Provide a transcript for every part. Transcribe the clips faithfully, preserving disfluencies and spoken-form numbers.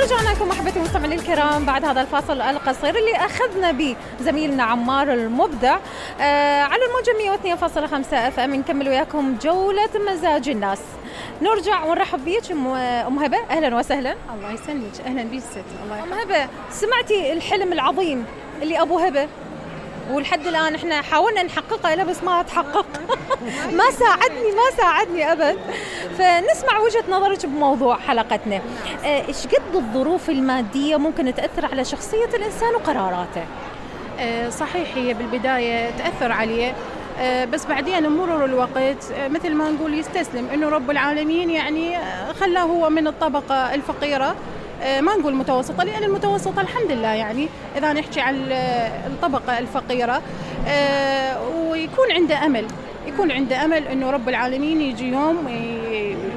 ورجعنا لكم أحبتي المستمعين الكرام بعد هذا الفاصل القصير اللي أخذنا به زميلنا عمار المبدع آه على الموجة مية واثنين فاصلة خمسة اف ام. نكمل وياكم جولة مزاج الناس. نرجع ونرحب بيك أم هبة، أهلا وسهلا. الله يسلمك، أهلا بيك ست. الله أم هبة، سمعتي الحلم العظيم اللي أبو هبة ولحد الآن إحنا حاولنا نحققه له بس ما تحقق ما ساعدني ما ساعدني أبد. فنسمع وجهة نظرك بموضوع حلقتنا. إيش قد الظروف المادية ممكن تأثر على شخصية الإنسان وقراراته؟ صحيح، هي بالبداية تأثر عليه بس بعدين مرور الوقت مثل ما نقول يستسلم إنه رب العالمين يعني خلاه هو من الطبقة الفقيرة، ما نقول متوسطة لأن المتوسطة الحمد لله يعني إذا نحكي عن الطبقة الفقيرة، ويكون عنده أمل يكون عنده أمل إنه رب العالمين يجي يوم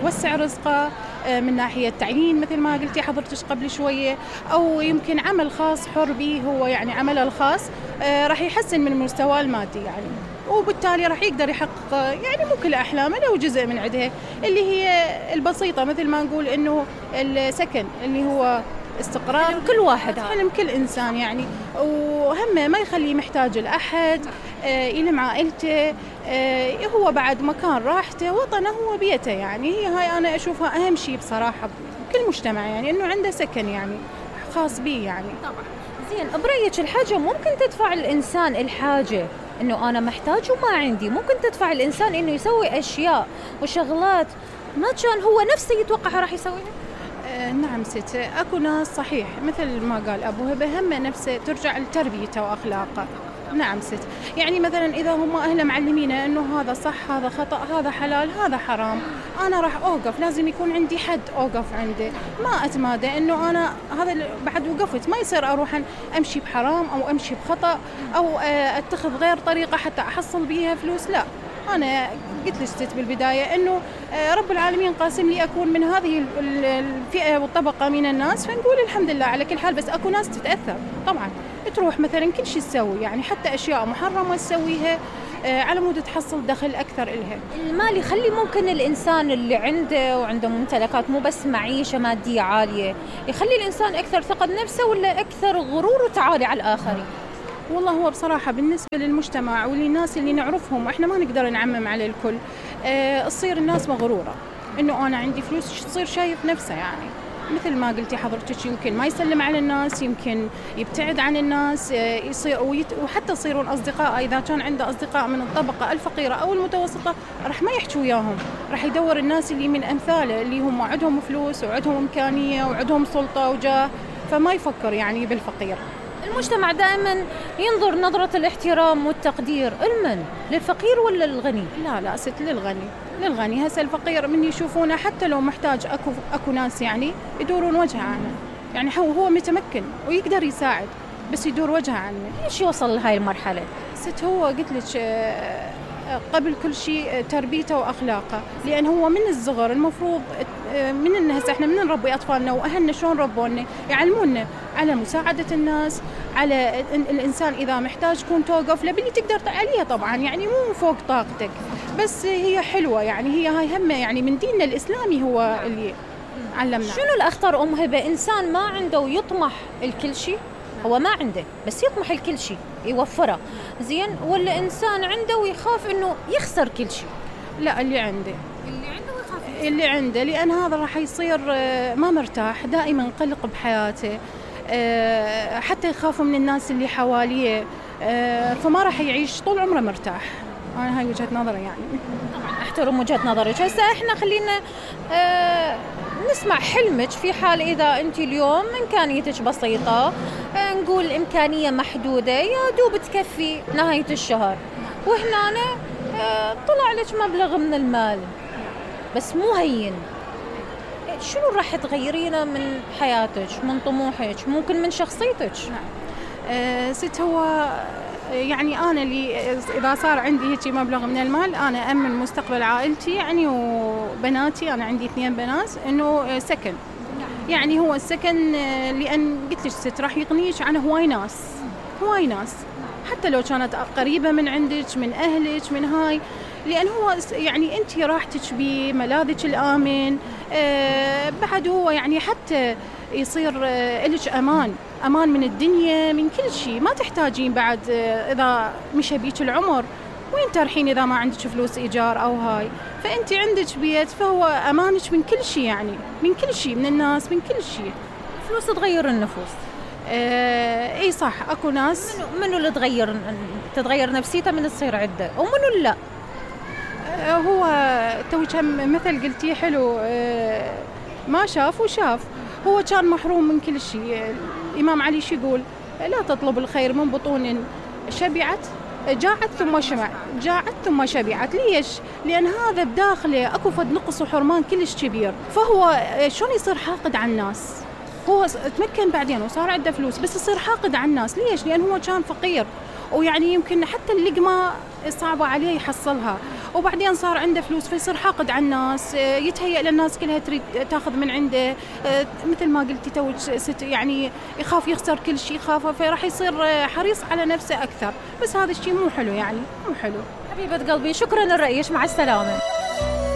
يوسع رزقه من ناحية تعليم مثل ما قلتي حضرتك قبل شوية، أو يمكن عمل خاص حر به هو يعني عمله الخاص راح يحسن من مستواه المادي يعني، وبالتالي راح يقدر يحقق يعني مو كل أحلامه لو جزء من عدها اللي هي البسيطة مثل ما نقول إنه السكن اللي هو استقرار حلم كل واحد، حلم كل إنسان يعني، وهمه ما يخليه محتاج لأحد، يلم عائلته، هو بعد مكان راحته وطنه هو بيته يعني. هي هاي أنا أشوفها أهم شيء بصراحة بكل مجتمع يعني إنه عنده سكن يعني خاص به يعني. طبعا. زين، برأيك الحاجة ممكن تدفع الإنسان الحاجة إنه أنا محتاج وما عندي، ممكن تدفع الإنسان إنه يسوي أشياء وشغلات ما كان هو نفسه يتوقعها راح يسويها؟ آه نعم ست، أكو ناس صحيح مثل ما قال أبو هبة هم نفسه ترجع لتربيته وأخلاقه. نعم ست، يعني مثلا إذا هم أهله معلمينه إنه هذا صح هذا خطأ هذا حلال هذا حرام، أنا راح أوقف، لازم يكون عندي حد أوقف عنده، ما أتمادى إنه أنا هذا بعد وقفت، ما يصير أروح أمشي بحرام أو أمشي بخطأ أو أتخذ غير طريقة حتى أحصل بيها فلوس. لا، أنا قلت لك بالبداية إنه رب العالمين قاسم لي أكون من هذه الفئة والطبقة من الناس، فنقول الحمد لله على كل حال. بس أكو ناس تتأثر طبعا، تروح مثلا كل شيء تسوي يعني حتى أشياء محرمة تسويها على مود تحصل دخل أكثر إلها. المال يخلي ممكن الإنسان اللي عنده وعنده ممتلكات مو بس معيشة مادية عالية يخلي الإنسان أكثر ثقة بنفسه ولا أكثر غرور وتعالي على الآخرين؟ والله هو بصراحة بالنسبة للمجتمع وللناس اللي نعرفهم وإحنا ما نقدر نعمم على الكل، أه تصير الناس مغرورة إنه أنا عندي فلوس، تصير شايف نفسه يعني مثل ما قلتي حضرتك، يمكن ما يسلم على الناس، يمكن يبتعد عن الناس، يصير وحتى يصيرون أصدقاء. إذا كان عنده أصدقاء من الطبقة الفقيرة أو المتوسطة راح ما يحكوا وياهم، راح يدور الناس اللي من أمثاله اللي هم عندهم فلوس وعندهم إمكانية وعندهم سلطة وجاه، فما يفكر يعني بالفقير. المجتمع دائما ينظر نظرة الاحترام والتقدير لمن؟ للفقير ولا للغني؟ لا لا ست، للغني للغني. هسه الفقير من يشوفونه حتى لو محتاج أكو أكو ناس يعني يدورون وجهه عنه، يعني هو هو متمكن ويقدر يساعد بس يدور وجهه عنه. ليش يوصل لهاي المرحلة؟ ست، هو قلت لك قبل كل شيء تربيته وأخلاقه، لأن هو من الصغر المفروض من الناس احنا من نربي أطفالنا وأهلنا شلون ربونا، يعلمونا على مساعدة الناس، على الإنسان إذا محتاج كون توقف له باللي تقدر عليها طبعا يعني مو فوق طاقتك، بس هي حلوة يعني. هي هاي همة يعني من ديننا الإسلامي هو اللي علمنا. شنو الأخطر أم هبة؟ إنسان ما عنده ويطمح الكل شيء، هو ما عنده بس يطمح الكل شيء يوفره زين، ولا إنسان عنده ويخاف إنه يخسر كل شيء؟ لا، اللي عنده اللي عنده ويخاف اللي عنده، لأن هذا راح يصير ما مرتاح، دائما قلق بحياته، حتى يخاف من الناس اللي حواليه، فما راح يعيش طول عمره مرتاح. أنا هاي وجهة نظري يعني. طبعا أحترم وجهة نظرك. هسه إحنا خلينا آه نسمع حلمك في حال إذا أنت اليوم إمكانيتك بسيطة، آه نقول إمكانية محدودة يا دوب تكفي نهاية الشهر، وهنا آه طلع لك مبلغ من المال بس مو هين، شنو راح تغيرينه من حياتك، من طموحك، ممكن من شخصيتك؟ نعم. أه ست، هو يعني أنا اللي إذا صار عندي هيك مبلغ من المال أنا أمن مستقبل عائلتي يعني وبناتي، أنا عندي اثنين بنات، إنه سكن يعني. هو السكن لأن قلت لك ست راح يغنيك عن هواي ناس هواي ناس حتى لو كانت قريبة من عندك من أهلك من هاي، لأن هو يعني أنت راحتك بيه، ملاذك الآمن. آه بعد هو يعني حتى يصير آه لك أمان أمان من الدنيا، من كل شيء. ما تحتاجين بعد آه إذا مشى بيك العمر وين ترحين إذا ما عندك فلوس إيجار أو هاي، فأنت عندك بيت فهو أمانك من كل شيء، يعني من كل شيء، من الناس، من كل شيء. فلوس تغير النفوس. آه اي صح، اكو ناس منو منو اللي تغير تتغير نفسيته من تصير عده ومنو لا. آه هو توي كم مثل قلتي حلو، آه ما شاف وشاف. هو كان محروم من كل شيء. الإمام علي شو يقول؟ لا تطلب الخير من بطون شبعت جاعت ثم شبعت جاعت ثم شبعت. ليش؟ لأن هذا بداخله اكو فد نقص وحرمان كلش كبير، فهو شلون يصير حاقد على الناس؟ هو تمكن بعدين وصار عنده فلوس بس يصير حاقد على الناس. ليش؟ لأن هو كان فقير ويعني يمكن حتى اللقمة صعبة عليه يحصلها، وبعدين صار عنده فلوس فيصير حاقد على الناس، يتهيأ للناس كلها تريد تاخذ من عنده، مثل ما قلتي توج يعني يخاف يخسر كل شيء، يخاف، فراح يصير حريص على نفسه أكثر. بس هذا الشيء مو حلو، يعني مو حلو. حبيبة قلبي شكرا لرأيك، مع السلامة.